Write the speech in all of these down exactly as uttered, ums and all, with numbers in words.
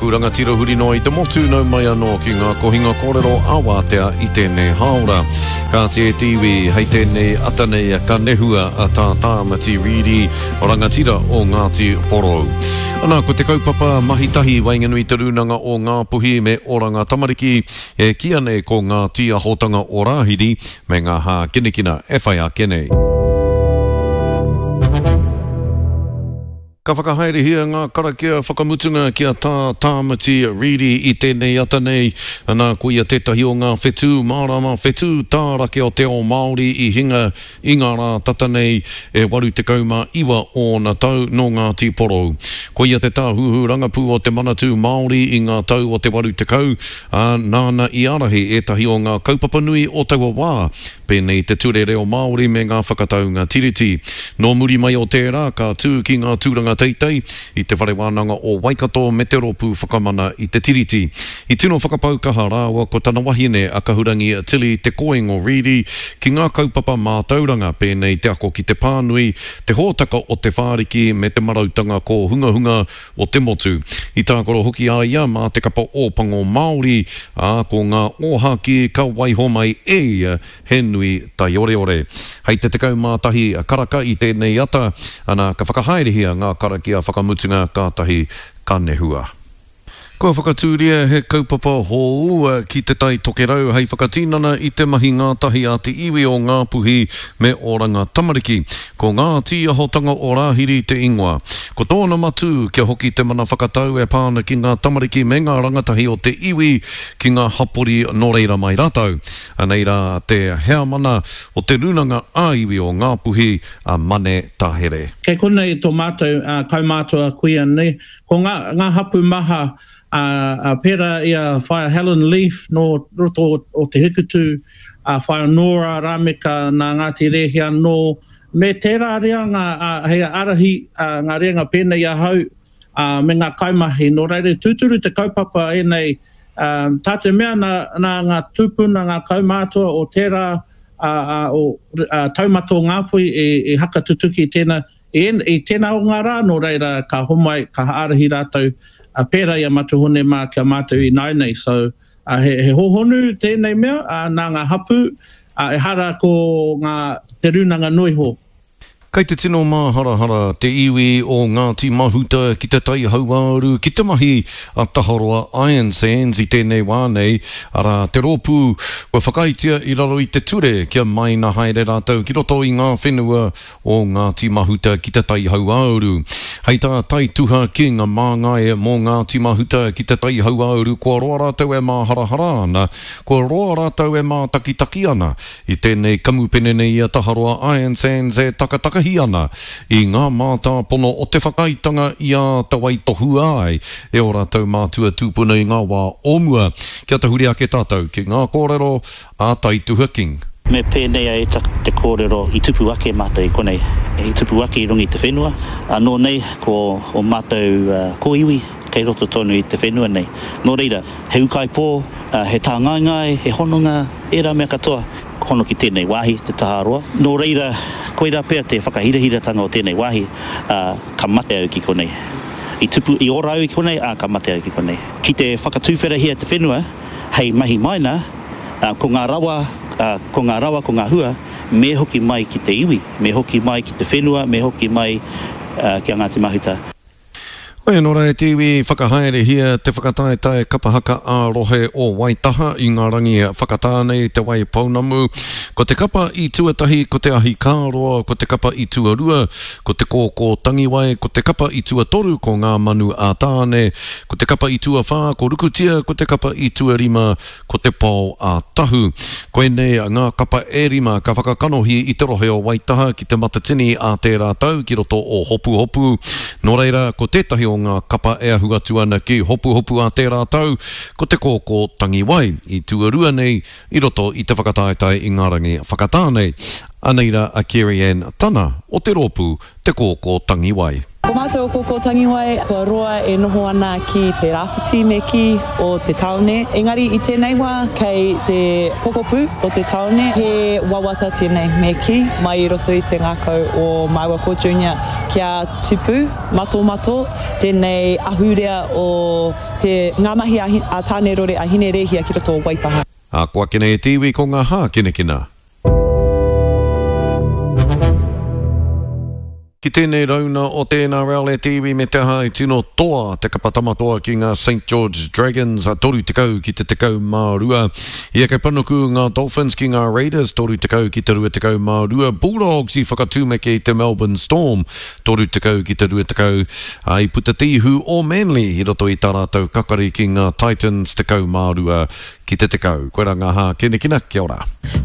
aku rangatira huri noa i te motu, nau mai anō ki ngā kohinga kōrero a wātea i tēnei hāora. Kāti e te iwi, hei tēnei ata nei ka nehua a Tā Tāmati Reedy, rangatira o Ngāti Porou. Ana, ko te kaupapa mahi tahi waenganui te rūnanga o Ngāpuhi me Oranga Tamariki, e kīia nei ko ngā tīahotanga o Rāhiri me ngā hākinakina e whai ake nei. Ka whakahaerehia ngā karakia whakamutunga ki a Tā Tāmati Reedy i tēnei ata nei. Ana, ko ia tētahi o ngā whetū mārama, whetū tārake o te ao Māori i hinga i ngā rā tata nei e waru tekau mā iwa ōna tau nō Ngāti Porou. Ko ia te tāhuhu rangapū o te Manatū Māori i ngā tau o te waru tekau, ā, nāna i ārahi ētahi o ngā kaupapa nui o taua wā, pēnei te ture reo Māori me ngā whakataunga tiriti. Nō muri mai o tērā, ka tū ki ngā tūranga teitei i te Whare Wānanga o Waikato me te Rōpū Whakamana i te Tiriti. I tino whakapau kaha rāua ko tana wahine a Kahurangi Tilly Te Koingo Reedy ki ngā kaupapa mātauranga pēnei te ako ki te pānui, te hōtaka o te whāriki me te marautanga kōhungahunga o te motu. I tākaro hoki a ia mā te kapa Ōpango Māori, ā, ko ngā ōhākī ka waiho mai e ia he nui taioreore. Hei te tekau mā tahi karaka i tēnei ata, ana, ka whakahaerehia ngā karakia whakamutunga kātahi ka nehua. Kua whakatūria he kaupapa hou ki Te Tai Tokerau hei whakatinana i te mahi ngātahi a te iwi o Ngāpuhi me Oranga Tamariki. Ko ngā tīahotanga o Rāhiri te ingoa. Ko tōna matū kia hoki te mana whakatau e pā ana ki ngā tamariki me ngā rangatahi o te iwi ki ngā hapori nō reira mai rātou. Anei rā te heamana o te Rūnanga ā-Iwi o Ngāpuhi, a Mane Tahere. Kei konei tō mātou kaumātua kuia nei, ko ngā, ngā hapū maha, ā, ā, pērā i a Whaea Helen Leaf nō roto o, o Te Hikutū, a Whaea Nora Rameka nā Ngāti Rēhia anō, me tērā reanga, ā, hei ārahi, ā, ngā reanga pēnei i ahau, ā, me ngā kaimahi. Nō reira, tūturu te kaupapa ēnei, ā, tā te mea nā, nā ngā tūpuna, ngā kaumātua o tērā, ā, ā, o, ā, taumata o Ngāpuhi i, i hakatutuki tēnā, I, i tēnā o ngā rā, nō reira, ka homai, ka ārahi rātou, ā, pērā i a Matua Hone mā ki a mātou ināianei. So, ā, he, he hōhonu tēnei mea, ā, nā ngā hapū, ā, ehara ko ngā, te rūnanga noa iho. Kei te tino māharahara te iwi o Ngāti Mahuta ki te Tai Hauāuru ki te mahi a Taharoa Iron Sands i tēnei wā nei, arā, te rōpū kua whakaaetia i raro i te ture kia maina haere rātou ki roto i ngā whenua o Ngāti Mahuta ki te Tai Hauāuru. Hei tā Taituha King māngai mō Ngāti Mahuta ki te Tai Hauāuru kua roa rātou e māharahara ana, kua roa rātou e mātakitaki ana i tēnei kamupene nei a Taharoa Iron Sands e takatakahi ana i ngā mātāpono o te whakaaetanga i āta waitohua ai e ō rātou mātua tūpuna i ngā wā o mua. Kia tahuri ake tātou ki ngā kōrero a Taituha King. Me pēnei ai te kōrero i tupu ake mātou i konei, i tupu ake i runga i te whenua, anō nei ko ō mātou kōiwi kei roto tonu i te whenua nei. Nō reira, he ūkaipō, he tāngaengae, he hononga, ērā mea katoa, hono ki tēnei wāhi, te Taharoa. Nō reira, koirā pea te whakahirahiratanga o tēnei wāhi, ā, ka mate au ki konei. I tupu, i ora au i konei, ā, ka mate au ki konei. Ki te whakatūwherahia te whenua hei mahi maina, ā, ko ngā rawa, ā, ko ngā rawa, ko ngā hua, me hoki mai ki te iwi, me hoki mai ki te whenua, me hoki mai, ā, ki a Ngāti Mahuta. Hoi anō rā e te iwi, whakahaerehia te whakataetae kapa haka ā-rohe o Waitaha i ngā rangi whakatā nei Te Wai Pounamu. Ko te kapa i tuatahi ko Te Ahi Kāroa, ko te kapa i tuarua ko Te Kōkō Tangiwai, ko te kapa i tuatoru ko Ngā Manu a Tāne, ko te kapa i tuawhā ko Rukutia, ko te kapa i tuarima ko Te Pao a Tahu. Koinei ngā kapa e rima ka whakakanohi i te rohe o Waitaha ki Te Matatini ā tērā tau ki roto o Hopuhopu. Nō reira, ko tētahi o ngā kapa e ahu atu ana ki Hopuhopu ā tērā tau, ko Te Kōkō Tangiwai, i tuarua nei i roto i te whakataetae i ngā rangi whakatā nei. Anei rā a Kerry-Ann Tana o te rōpū Te Kōkō Tangiwai. Ko mātou o Kōkō Tangiwai, kua roa e noho ana ki te rāwhiti me kī o te tāone, engari i tēnei wā kei te pokapū o te tāone, he wawata tēnei me kī, mai i roto i te ngākau o māua ko Junior kia tupu matomato tēnei ahurea o te ngā mahi a Tāne Rore a Hine Rēhia ki roto o Waitaha. Ā, ko ake nei e te iwi ko ngā hākinakina. Ki tēnei rauna o te NRL e te iwi me te aha i tino toa te kapa tamatoa ki ngā Saint George Dragons toru tekau ki te tekau mā rua. I eke panuku ngā Dolphins ki ngā Raiders toru tekau ki te rua tekau mā rua. Bulldogs i whakatūmeke i te Melbourne Storm toru tekau ki te rua tekau. Ā, i puta te ihu o Manly i roto i tā rātou kakari ki ngā Titans tekau mā rua Ki te tekau. Koirā ngā hākinakina. Kia ora.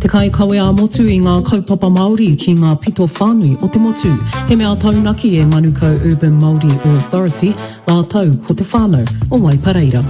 Te kaikawe ā-motu i ngā kaupapa Māori ki ngā pito whānui o te motu. He mea taunaki e Manukau Urban Māori Authority rātou ko te whānau o Waipareira.